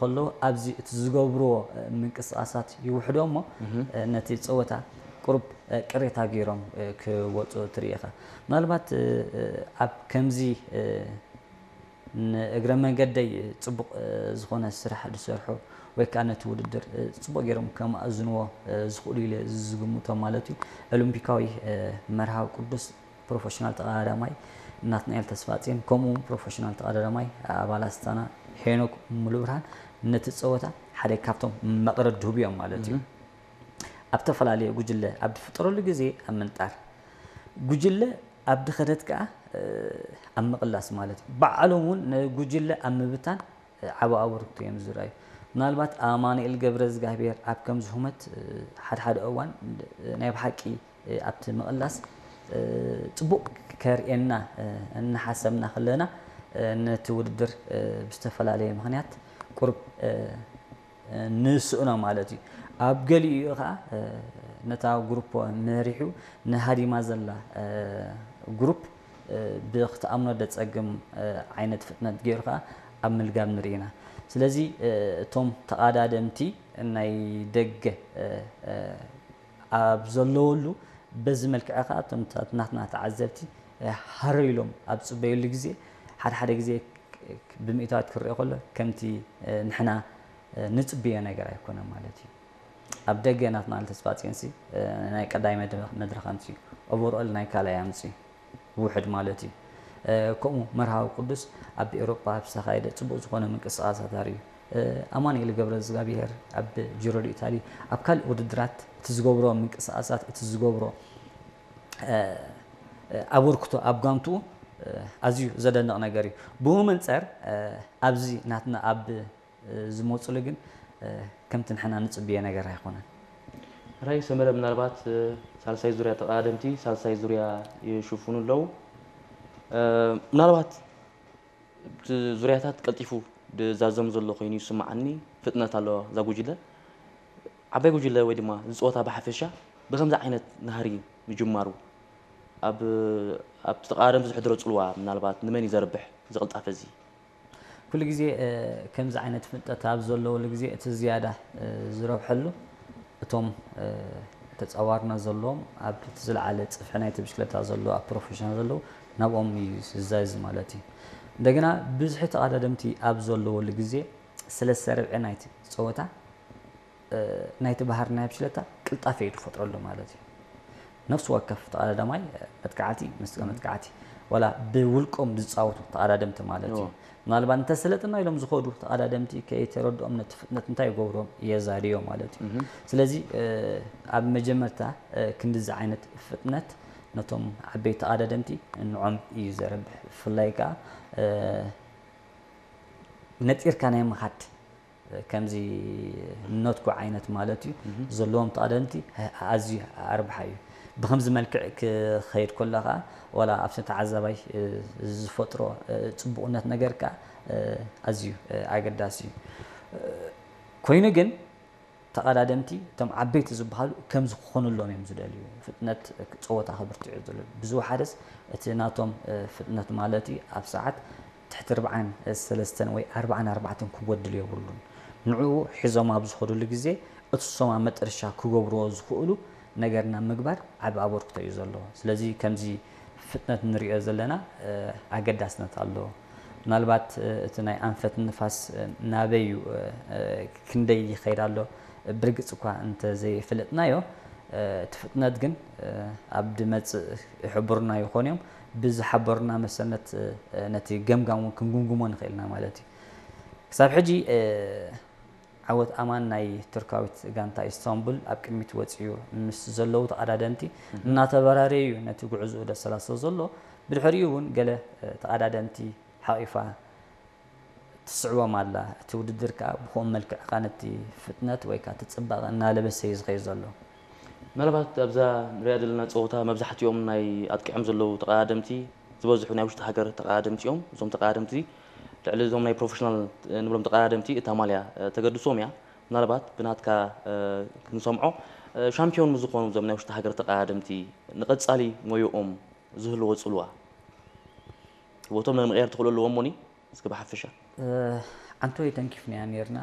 ከለዉ ኣብዚ እቲ ዝገብርዎ ምንቅስቃሳት ይውሕዶ እሞ ነቲ ፀወታ ቁሩብ ቅሬታ ገይሮም ክወፁ ትርኢ ኢኻ። ምናልባት ኣብ ከምዚ ንእግረ መንገደይ ፅቡቕ ዝኾነ ስራሕ ዝሰርሑ ወይ ከዓ ነቲ ውድድር ፅቡቕ ገይሮም ከማእዝንዎ ዝኽእሉ ኢለ ዝግምቶም ማለት እዩ። ኦሎምፒካዊ መርሃዊ ቅዱስ ፕሮፌሽናል ተቐዳዳማይ ናትናኤል ተስፋጽዮን ከምኡ እውን ፕሮፌሽናል ተቐዳዳማይ ኣባል ኣስታና ሄኖክ ሙሉብርሃን ነቲ ፀወታ ሓደ ካብቶም መቕረብ ድህቡ እዮም ማለት እዩ። ኣብ ተፈላለየ ጉጅለ ኣብ ዝፍጠረሉ ግዜ ኣብ ምንጣር ጉጅለ ኣብ ድኸደት ከዓ ኣብ ምቕላስ ማለት እዩ። ባዕሎም እውን ንጉጅለ ኣብ ምብታን ዓቢ ኣበርክቶ እዮም ዝረኣዩ። ምናልባት ኣማኑኤል ገብረ እግዚኣብሔር ኣብ ከምዚ ሁመት ሓድሓደ እዋን ናይ ብሓቂ ኣብቲ ምቕላስ ፅቡቕ ከርእየና እናሓሰብና ከለና ነቲ ውድድር ብዝተፈላለየ ምኽንያት ቁሩብ ንስእኖ ማለት እዩ። ኣብ ገሊኡ ከዓ ነታ ግሩፕ መሪሑ ንሃዲማ ዘላ ግሩፕ ብክትኣምኖ ደፀግም ዓይነት ፍጥነት ገይሩ ከዓ ኣብ ምልጋብ ንርኢ ኢና። ስለዚ እቶም ተቓዳደምቲ ናይ ደገ ኣብ ዘለወሉ በዚ መልክዕ ከዓ እቶም ናትና ተዓዘብቲ ሃረር ኢሎም ኣብ ፅበየሉ ግዜ ሓደ ሓደ ግዜ ብምእታዋት ክረአ ከሎ ከምቲ ንሕና ንፅብዮ ነገር ኣይኮነን ማለት እዩ። ኣብ ደገ ናትና ተስፋ ፅዮንሲ ናይ ቀዳይ መድረኽ ኣምፅኡ፣ ኦቨርኦል ናይ ካልኣይ ኣምፅኡ ውሕድ ማለት እዩ። ከምኡ መርሃዊ ቅዱስ ኣብ ኤውሮጳ ኣብ ዝተኻየደ ፅቡቕ ዝኾነ ምንቅስቃሳት ኣርእዩ። ኣማኑኤል ገብረ እግዚኣብሔር ኣብ ጂሮ ዲ ኢታሊ ኣብ ካልእ ውድድራት እቲ ዝገብሮ ምንቅስቃሳት እቲ ዝገብሮ ኣበርክቶ ኣብ ጋንትኡ ኣዝዩ ዘደንቕ ነገር እዩ። ብኡ መንፀር ኣብዚ ናትና ኣብ ዝመፁሉ ግን ከምቲ ንሕና ንፅብዮ ነገር ኣይኮነን። ራይ ሰመረ ምናልባት ሳልሳይ ዙርያ ተቐዳደምቲ ሳልሳይ ዙርያ ይሽፍኑ ኣለዉ። ምናልባት እቲ ዙርያታት ቀልጢፉ ዝዛዘም ዘሎ ኮይኑ ይስምዓኒ። ፍጥነት ኣለዋ እዛ ጉጅለ። ዓባይ ጉጅለ ወይ ድማ ዝፀወታ ብሓፈሻ ብከምዚ ዓይነት ናህሪ ምጅማሩ ኣብ ኣብቲ ተቐዳደምቲ ዝሕድሮ ፅልዋ ምናልባት ንመን እዩ ዘርብሕ እዚ ቅልጣፈ እዚ? ኩሉ ግዜ ከምዚ ዓይነት ፍልጠት ኣብ ዘለውሉ ግዜ እቲ ዝያዳ ዝረብሐሉ እቶም ተፃዋርነት ዘለዎም ኣብ እቲ ዝለዓለ ፅፍሒ ናይቲ ብሽክለታ ዘለዉ ኣብ ፕሮፌሽናል ዘለዉ ናብኦም እዩ ዝዛዚ ማለት እዩ። እንደገና ብዝሒ ተቐዳደምቲ ኣብ ዘለወሉ ግዜ ሰለስተ ርብዒ ናይቲ ፀወታ ናይቲ ባህሪ ናይ ብሽክለታ ቅልጣፈ እዩ ዝፈጥረሉ ማለት እዩ። ነፍሲ ወከፍ ተቐዳዳማይ መጥቃዕቲ ምስ መጥቃዕቲ ዋላ ብውልቆም ዝፃወቱ ተቐዳደምቲ ማለት እዩ። ምናልባት እንተሰለጥና ኢሎም ዝኸዱ ተቐዳደምቲ ከይተረድኦም ነቲ ፍጥነት እንታይ ይገብሮም የዛድዮ ማለት እዩ። ስለዚ ኣብ መጀመርታ ክንድዚ ዓይነት ፍጥነት ነቶም ዓበይቲ ተቐዳደምቲ ንዖም እዩ ዘረብሕ። ብፍላይ ከዓ ነጢርካ ናይ ምኻድ ከምዚ ኖትጎ ዓይነት ማለት እዩ ዘለዎም ተቐደምቲ ኣዝዩ ኣርብሓ እዩ። ብከምዚ መልክዕ ክኸይድ ከሎ ከዓ ዋላ ኣብቲ ተዓዛባይ ዝፈጥሮ ፅቡቕነት ነገር ከዓ ኣዝዩ ኣገዳሲ እዩ። ኮይኑ ግን ተቐዳደምቲ እቶም ዓበይቲ ዝበሃሉ ከምዚ ክኾኑሎም እዮም ዝደልዩ። ፍጥነት ፀወታ ክብርትዑ ዝደልዩ ብዝወሓደስ እቲ ናቶም ፍጥነት ማለት እዩ ኣብ ሰዓት ትሕቲ ኣርብዓን ሰለስተን ወይ ኣርብዓን ኣርባዕተን ክጎድል የብሉን። ንዕኡ ሒዞም ኣብ ዝኸዱሉ ግዜ እቲ ሶም ኣብ መጠረሻ ክገብርዎ ዝኽእሉ ነገር ናብ ምግባር ዓቢ ኣበርክቶ እዩ ዘለዎ። ስለዚ ከምዚ ፍጥነት ንሪኦ ዘለና ኣገዳስነት ኣለዎ። ምናልባት እቲ ናይ ኣንፈት ንፋስ ናበይ እዩ ክንደይ ይኸይድ ኣሎ ብርግፅ እኳ እንተዘይፍለጥናዮ እቲ ፍጥነት ግን ኣብ ድመፅእ ይሕብሩና ይኾኑ እዮም። ብዝሓበሩና መሰነት ነቲ ገምጋም እውን ክንግምግሞ ንኽእል ኢና ማለት እዩ። ክሳብ ሕጂ ዓወት ኣማን ናይ ቱርካዊት ጋንታ ኢስታንቡል ኣብ ቅድሚት ወፂኡ ምስ ዘለዉ ተቐዳደምቲ እናተበራረየ እዩ ነቲ ጉዕዝኡ ደሰላስሎ ዘሎ። ብድሕሪኡ እውን ገለ ተቐዳደምቲ ሓቒፋ ትስዕቦም ኣላ። እቲ ውድድር ከዓ ብኸምኡ መልክዕ ከዓ ነቲ ፍጥነት ወይ ከዓ እቲ ፅባቐ እናለበሰ እዩ ዝኸይድ ዘሎ። ምናልባት ኣብዛ ንሪኣ ዘለና ፀወታ መብዛሕትኦም ናይ ኣጥቂዖም ዘለዉ ተቐዳደምቲ ዝበዝሑ ናይ ውሽጢ ሃገር ተቐዳደምቲ እዮም። እዞም ተቐዳደምቲ ልዕሊ እዞም ናይ ፕሮፌሽናል ንብሎም ተቐዳደምቲ እታ ማልያ ተገድሶም እያ። ምናልባት ብናትካ ክንሰምዖ ሻምፒዮን ምስ ዝኾኑ እዞም ናይ ውሽጢ ሃገር ተቐዳደምቲ ንቐፃሊ ሞዮኦም ዝህልዎ ፅልዋ ህይወቶም ንምቕያር ትኽእሉ ኣለዎም ሞኒ እስኪ ብሓፈሻ ዓንቶ ተንኪፍናያ ነርና